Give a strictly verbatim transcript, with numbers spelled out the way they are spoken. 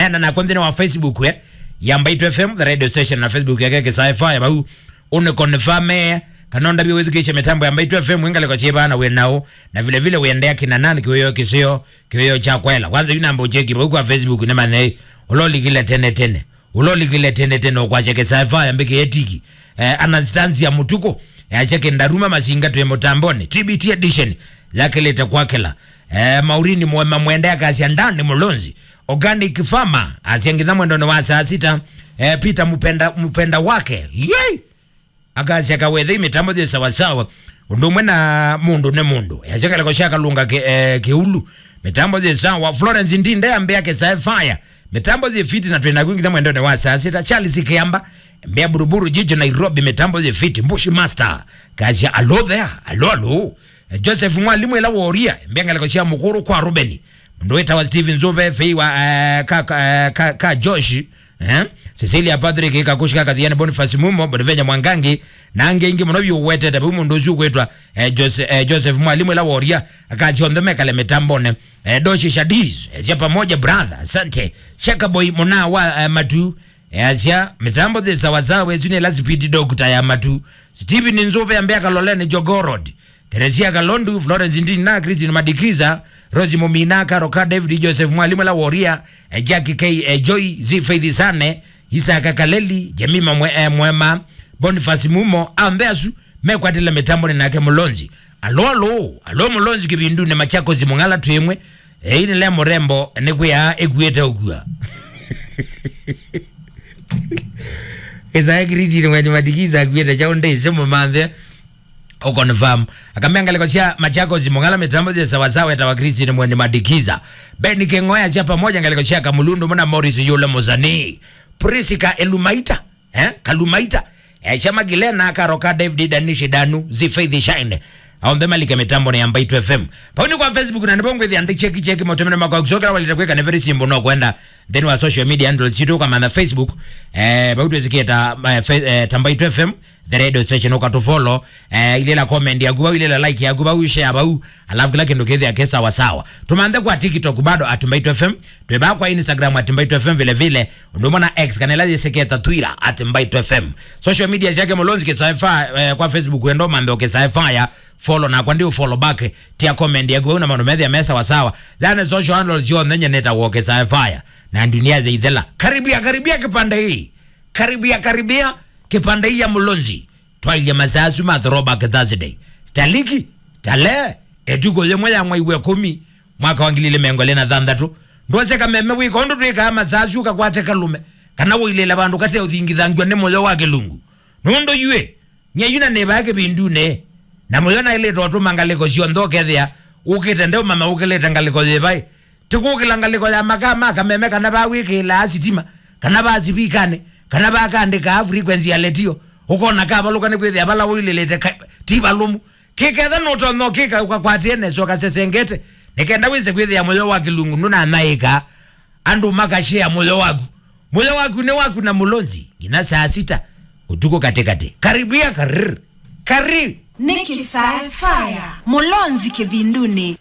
Ena nakwa nthĩnĩ wa Facebook, eh, ya Mbaitu F M, the radio station, na Facebook yake Kĩsae Fire, vau ũnĩ confirm, eh, kana ũndavye wĩthukĩĩsye mĩtambo ya Mbaitu F M, wĩ ngalĩko syĩva na wĩ naũ, na vile vile wĩendea kĩna nani kĩwĩo kĩseo, kĩwĩo kya kwela. Kwanza yu namba ũcheki vau kwa Facebook nĩ manyei, ũla ũlikile tene tene. Ũla ũlikile tene tene ũkwasya Kĩsae Fire mbĩkĩe tiki. Eh, Anastasia Mũtukũ, eh, asya kĩ Ndaruma Masinga twĩ mũtambonĩ. T B T edition, yakĩlĩte kwakĩla. Eh, Maurini Mwema Mwende akasya Ndani Mũlonzi. Organic Farmer, asya nginya mwendonĩ wa saa sita. Eh, Peter Mupenda, Mupenda wake. Yei! Akasya Kawethei mĩtambo yĩ sawasawa. Ũndũ ũmwe na mũndũ nĩ mũndũ. Yasya ngalĩko sya Kalunga kĩ-, eh, Kĩulu. Mĩtambo yĩ sawa. Florence Ndinde ambĩa Kĩsae Fire. Mĩtambo yĩ fiti na twĩ naku nginya mwendonĩ wa saa sita. Charles Kĩamba. Mbĩa Buruburu Jijo Nairobi. Mĩtambo yĩ fiti. Bush Master. Kasya alo there. Alo, alo. Eh, Joseph Mwalimu ĩla Woria. Mbĩa ngalĩko sya Mũkũrũ kwa Rubeni. Mũndũ wĩtawa Steven Nzũve, Fei wa, eh, ka, ka, eh, ka, ka Josh, eh? Cecilia Patrick, Kakushi ka Kathiani, Boniface Mumo, Bonivenya Mwangangi, na angĩ aingĩ mũno vyũ ũwetete vau mũndũ ũsu ũkwĩtwa, eh, Jose-, eh, Joseph Mwalimu ĩla Woria, akasya onthe mekale mĩtambonĩ. Eh, Doshi Shadis, eh, sya pamoja brother, asante. Shaka Boy Muna wa, eh, Matu, eh, asya mĩtambo thĩ sawasawa, ĩsu nĩ ĩla speed doctor ya Matu. Steven Nzũve ambĩa Kaloleni Jogoo Road. Theresia Kalondu, Florence Ndina, Christine Madikiza, Rosie Mumina, Karo Ka, David Joseph Mwalimu la Woria, eh, Jackie K, eh, Joy, Zi Faith Sane, Isaka Kaleli, Jemima Mwe-, eh, Mwema, Boniface Mumo, ambe asu, mekwatĩle mĩtambonĩ nake Mũlonzi. Alo, alo, alo Mũlonzi kĩvindunĩ Machakos Mũng'ala twĩmwe, eh, ĩĩ nĩ le mũrembo, nĩ kwĩa ĩkuĩte ũkua. Ĩsae Christine Mwalimu Madikiza akuĩte kyaũ ndĩsĩ mũmanthe. Ũconfirm. Akamea ngalĩko sya Machakos Mũng'ala mĩtambo yĩ sawasawa etawa Christine Mweni Madikiza. Ben Kĩng'oya sya pamoja ngalĩko sya Kamulundu mũna Morris Yule Mũsanii. Prisca Elumaita, eh? Kalumaita. Eh, sya Magilena Karoka David Danishi Danu Zi Faith Shine. Aonthe malike mĩtambonĩ ya Mbaitu F M. Pau nĩ kwa Facebook na nĩvo ngwĩthĩa ndĩ cheki cheki maũtũmĩro makwa kusokera walita kwĩka nĩ very simple no kwenda. Then wa social media handles sitũ ũkamantha Facebook. Eh, vau twĩsĩkĩe ta, eh, fe-, eh, ta Mbaitu F M. The radio station, ũkatũfollow, eh, ilela comment yaku vau, ilela like yaku vau, share vau, alafu kila kĩndũ kĩthĩa kĩ sawa sawa. Tũmanthe kwa TikTok bado at Mbaitu F M, twĩ vaa kwa Instagram at Mbaitu F M vile vile, ũndũ ũmwe na X kana ĩla yĩsĩkĩe ta Twitter at Mbaitu F M. Social media syake Mũlonzi Kĩsae Fire, eh, kwa Facebook wendo manthe Kĩsae Fire, follow nakwa ndi follow back, tia comment yaku vau na maũndũ methĩa me sawa sawa. Then social handles yonthe nyeneta wo Kĩsae Fire, na dunia ya ithela. Karibia, karibia kĩpande hii. Karibia, karibia, kĩpande hii ya Mũlonzi. Twailye masaa asu ma throwback Thursday. Taliki, tale, ĩtukũ yĩmwe ya mwei wa ĩkũmi, mwaka wa ngili ilĩ mĩongo ĩlĩ na thanthatũ. Ndwose kameme wĩka ũndũ twĩkaa masaa asu kakwate kalũme, kana ũilĩle vandũ kate ũthingithangw'a nĩ mũyo wa kĩlungu. Nũndũ yuĩ, nyie yu na nĩvaa kĩvindunĩ, na mũyo naĩlĩte ũtũma ngalĩko syonthe ũkethĩa ũkĩte ndeũmanya ũkĩlĩte ngalĩko yĩvaĩ. Ti kũkĩla ngalĩko ya makaa ma kameme kana va wĩkĩĩlaa sitima, kana va sivikanĩ, kana va kaandĩkaa frequency ya letio, ũkona kavalũka nĩ kwĩthĩa vala ũilĩlĩte ka-, ti valũmu. Kĩketha nũtonya ũkĩka ũkakwatĩe nesa ũkasesengete, nĩ kenda wĩse kwĩthĩa mũyo wa kĩlungu ndũnanyaĩĩka. Andũ makashare mũyo waku. Mũyo waku nĩ waku na Mũlonzi, nginya saa sita ũtukũ katĩkatĩ. Karibia, karr, karr. Nĩ Kĩsae Fire, Mũlonzi kĩvindunĩ.